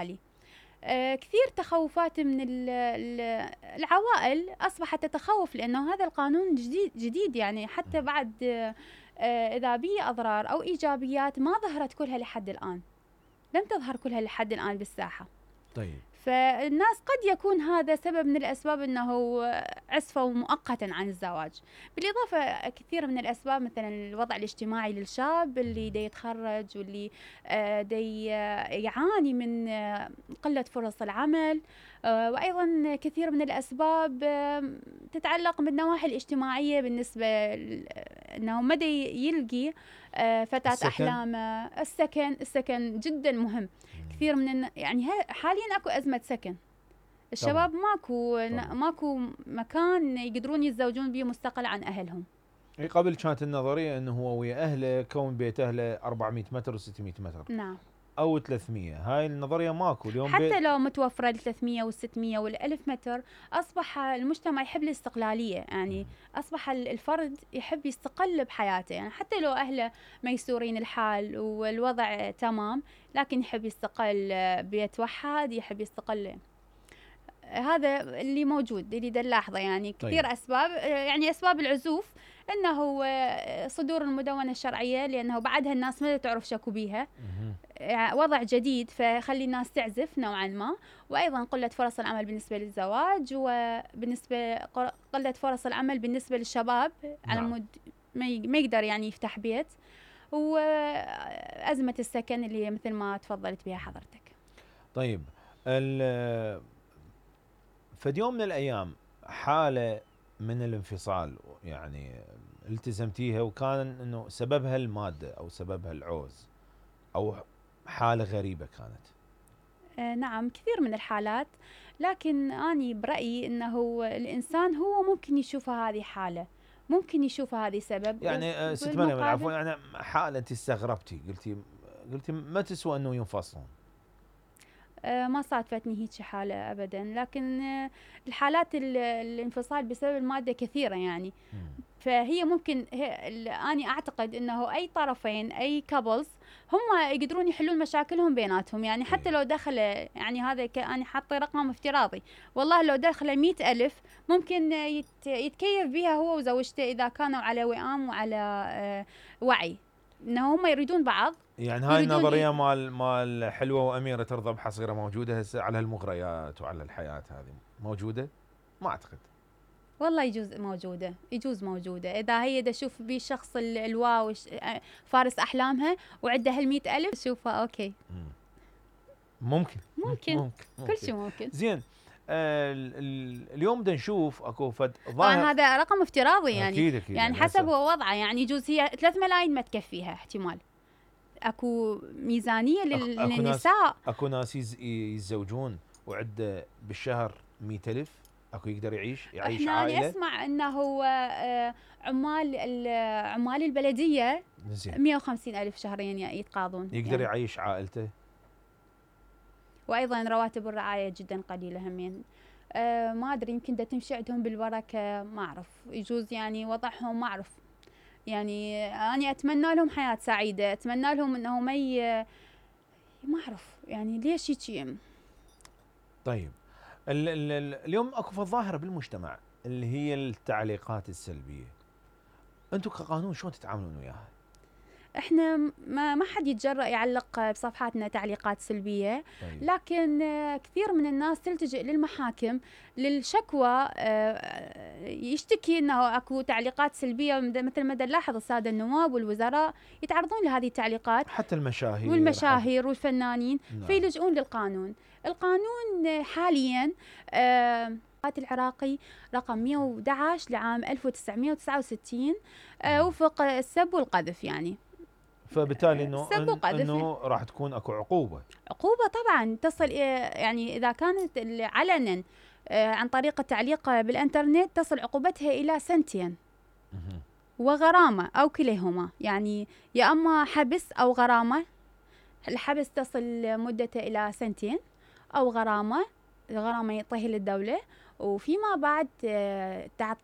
الحالي. كثير تخوفات من العوائل أصبحت تتخوف، لأنه هذا القانون جديد يعني، حتى بعد إذا بيه أضرار أو إيجابيات ما ظهرت كلها لحد الآن، لم تظهر كلها لحد الآن بالساحة. طيب. فالناس قد يكون هذا سبب من الأسباب أنه عزفوا مؤقتا عن الزواج. بالإضافة كثير من الأسباب، مثلا الوضع الاجتماعي للشاب اللي دا يتخرج واللي دا يعاني من قلة فرص العمل، وأيضا كثير من الأسباب تتعلق بالنواحي الاجتماعية، بالنسبة أنه ما دا يلقي فتاة أحلامه. السكن جدا مهم. كثير من يعني حاليا اكو أزمة سكن، الشباب ماكو مكان يقدرون يتزوجون به مستقل عن أهلهم. قبل كانت النظرية انه هو ويا اهله كون بيت اهله 400 متر و600 متر. نعم. او 300، هاي النظرية ماكو اليوم. حتى لو متوفرة ال 300 وال 600 وال 1000 متر، اصبح المجتمع يحب الاستقلالية، يعني اصبح الفرد يحب يستقل بحياته، يعني حتى لو اهله ميسورين الحال والوضع تمام، لكن يحب يستقل بيت وحد، يحب يستقل. هذا اللي موجود، اللي دا نلاحظه يعني. كثير طيب. أسباب، يعني أسباب العزوف أنه صدور المدونة الشرعية، لأنه بعدها الناس ما تعرف شكو بيها، وضع جديد فخلي الناس تعزف نوعا ما. وأيضا قلة فرص العمل بالنسبة للزواج، وبالنسبة قلة فرص العمل بالنسبة للشباب على مود ما يقدر يعني يفتح بيت، وأزمة السكن اللي مثل ما تفضلت بها حضرتك. طيب، فد يوم من الأيام حالة من الانفصال يعني التزمتيها، وكان انه سببها المادة او سببها العوز او حالة غريبة كانت؟ نعم، كثير من الحالات، لكن أنا برأيي أنه الإنسان هو ممكن يشوفها هذه حالة، ممكن يشوفها هذه سبب. يعني ست مريم العفو، يعني حالة انت استغربتي، قلتي ما تسوى انه ينفصلون. ما صادفتني هيك حالة أبدا، لكن الحالات الانفصال بسبب المادة كثيرة يعني. فهي ممكن أنا أعتقد أنه أي طرفين، أي كابلز، هم يقدرون يحلون مشاكلهم بيناتهم يعني. حتى لو دخل يعني هذا أنا حاطة رقم افتراضي، والله لو دخل 100,000 ممكن يتكيف بها هو وزوجته إذا كانوا على وئام وعلى وعي انه هم يريدون بعض. يعني هاي النظريه مال حلوه واميره ترضى بحصيره موجوده هسه على المغريات وعلى الحياه، هذه موجوده؟ ما اعتقد. والله يجوز موجوده اذا هي دا تشوف بيه الشخص الواو فارس احلامها وعنده هال100,000 تشوفها اوكي. ممكن كل شيء ممكن. زين. اليوم بدنا نشوف اكو فد طبعا هذا رقم افتراضي يعني. أكيد يعني حسب وضعه، يعني يجوز هي 3 ملايين ما تكفيها احتمال. اكو ميزانيه للنساء. اكو ناس يتزوجون وعنده بالشهر 100,000، اكو يقدر يعيش احنا عائله. اسمع انه عمال البلديه 150,000 شهريا يتقاضون، يقدر يعني يعيش عائلته. وايضا رواتب الرعايه جدا قليله همين. ما ادري، يمكن دا تمشي عندهم بالبركه، ما اعرف، يجوز يعني وضعهم ما اعرف. يعني أنا أتمنى لهم حياة سعيدة، أتمنى لهم أنه ما أعرف يعني ليش هيك. طيب، اليوم أكو ظاهرة بالمجتمع اللي هي التعليقات السلبية، أنتم كقانون شلون تتعاملون وياها؟ احنا ما حد يتجرأ يعلق بصفحاتنا تعليقات سلبية. طيب. لكن كثير من الناس تلتجئ للمحاكم للشكوى، يشتكي انه اكو تعليقات سلبية، مثل ما نلاحظ السادة النواب والوزراء يتعرضون لهذه التعليقات، حتى المشاهير والفنانين. فيلجؤون للقانون. القانون حاليا العراقي رقم 111 لعام 1969 وفق السب والقذف يعني. فبالتالي انه راح تكون اكو عقوبه طبعا تصل، يعني اذا كانت علنا عن طريق التعليق بالانترنت تصل عقوبتها الى 2 سنين وغرامه او كليهما، يعني يا اما حبس او غرامه. الحبس تصل مدته الى 2 سنين او غرامه يعطيها للدوله، وفيما بعد تعطي